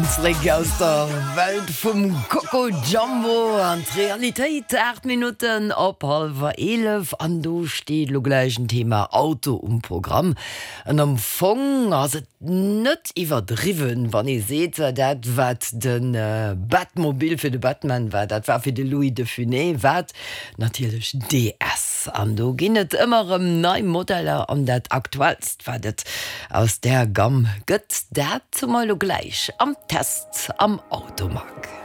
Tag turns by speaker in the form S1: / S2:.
S1: Zréck aus der Welt vum Coco Jumbo an d'Realitéit. 8 Minutten op hallwer 11 an do steet elo gläich en Thema Auto um Programm. An am Fong ass et net iwwerdriwwen, wann ee seet, dat wat de Batmobil fir de Batman war, dat war fir de Louis de Funès wat natierlech DS. An do ginn et ëmmer erëm nei Modeller an dat aktuellst wat et aus där Gamm gëtt, dat hu mer elo gläich am Test am Automag.